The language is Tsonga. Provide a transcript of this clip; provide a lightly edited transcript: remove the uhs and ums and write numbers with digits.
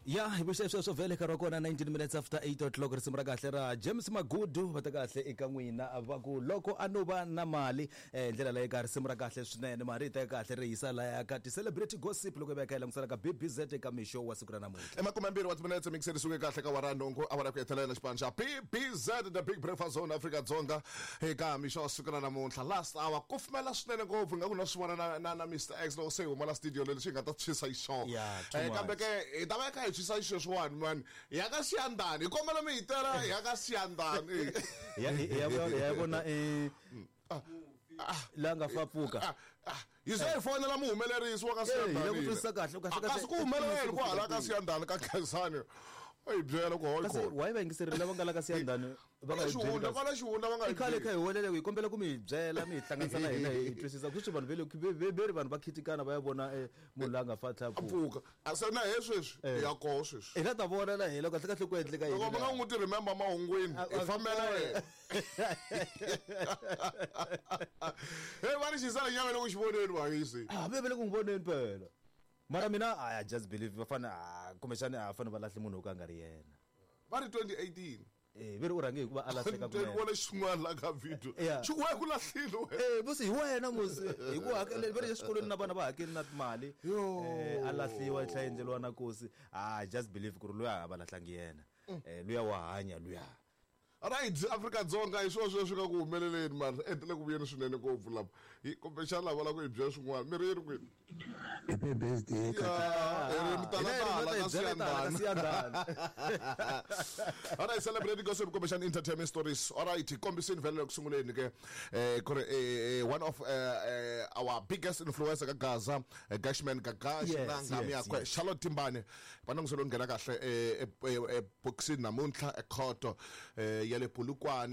Ya hi vuxe sweswo vhele nkarhi wa kona 19 minutes after 8 o'clock, risimu ra kahle ra James Magudu va ta kahle eka n'wina, va ku loko a no va na mali. Ndlela leyi ka risimu ra kahle swinene, mari yi ta kahle ri yisa laya ka ti-celebrity gossip loko hi va hi kha hi langutisela ka BBZ eka mixo wa siku ra namuntlha. I 20 wa timinetse mikiseri suke kahle ka wara nhungu, awara ku hetelela xipano xa BBZ, The Big Breakfast Zone, Afrika Dzonga eka mixo wa siku ra namuntlha. Last hour ku fumela swinene ngopfu, nga ku na swi vona na Mr X loko se hi huma la studio leswi hi nga ta tshwisa xiswona. Yeah, too much. Kambe ke hi ta va hi kha hi tshwisa xisweswiwani mani, hi ya ka Siyandhani, hi kombela mi hi tela, hi ya ka Siyandhani. Hi ya vona la nga fa pfuka. Hi ze hi fonela muhumelerisi wa ka Eh, hi Siyandhani. lava ku twisisa kahle, kahle, kahle. Kasi ku humelela yini kwahala ka Siyandhani ka Khensani? U hi byela ku hoyi Kasi khona. why va yingiserile lava nga la ka Siyandhani va nga hi byeli Xihundla kasi? kwala xihundla va nga I hi khale byeli. kha hi welele hi kombela ku mi hi byela, mi hi hlanganisa na hina hi twisisa ku sweswi vanhu ve ri vanhu va khitikana va ya vona munhu loyi a nga fa tlhela pfuka. Pfuka a se na he sweswi hi ya koho sweswi. Hi la ta vona la hina kahle kahle ku endleka yini Loko mi nga la. n'wi ti remember mahungwini, hi fambela yena. Hey, va ri xisana nyama loko xi voneni vahisi. Ah, ve le ku n'wi voneni phela. Mara mina I just believe va fane, kumbexani a fane va lahle munhu wo ka a nga ri yena. Va ri 2018. Eh, ve ri u rhange hi ku va a lahleka Ni kunene. vona xin'wana la ka video. Yeah. Xi ku wena ku lahlile wena. Eh, musi hi wena musi hi ku hakele va ri exikolweni na vana va hakeli na timali. Yo. A lahliwa tlhela endleriwa na kosi. Ah, I just believe ku ri luya a va lahlangi yena. Luya wa hanya luya. Right, Afrika Dzonga hi swona sweswi nga ku humeleleni mara endle ku vuyeni swinene ngopfu lapa. Hi kumbexana lava la ku hi byela swin'wana. Mi ri yini kwini? Happy birthday Ya, hi ri mitalatala ka Siyandhani. Siyandhani. All right, celebrating gossip kumbexana entertainment stories. All right, kombisini vhele ku sunguleni ke ku ri one of our biggest influencer ka Gaza, Gashman Gagash na nghamu yakwe Charlotte Timbane. Va langutiselo nghena kahle boxini namuntlha ekhoto ya le Polokwane.